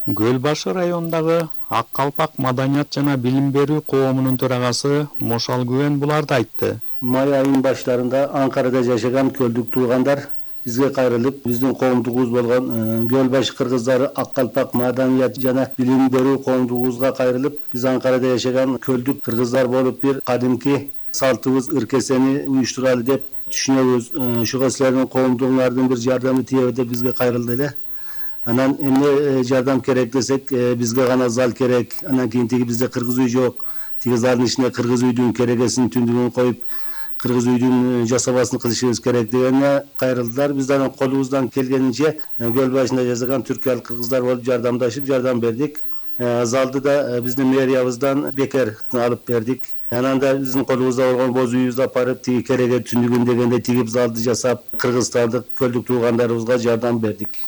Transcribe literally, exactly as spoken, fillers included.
Көл башы районундагы Ак Калпак маданият жана билим берүү коомунун төрагасы Мошал Күбен буларды айтты. Май айынын баштарында Анкарада жашаган көлдүк туугандар бизге кайрылып, биздин коомдугубуз болгон Көл башы кыргыздары Ак Калпак маданият жана билим берүү коомдугубузга кайрылып, биз Анкарада жашаган көлдүк кыргыздар болуп бир кадимки салтыбыз ыркесени уюштуралы деп түшүнөбүз. Ошого силердин коомдугуңардын бир жардамы тийеби деп бизге кайрылды эле. Анан эмне жардам керек десек, бизге гана зал керек. Анан кийин тиги бизде кыргыз үй жок. Тиги залдын ичине кыргыз үйдүн керегесин түндүгүн коюп, кыргыз үйдүн жасабасын кылышыбыз керек дегене кайрылдылар. Биз анан колубуздан келгенинче көл башында жашаган түркиялык кыргыздар болуп жардамдашып, жардам бердик. Залды да биздин мэриябыздан бекер алып бердик. Анан да биздин колубузда болгон боз үйүбүздү алып барып, тиги кереге түндүгүн дегенде тигип залды жасап, кыргызстандык көлдүк туугандарыбызга жардам бердик.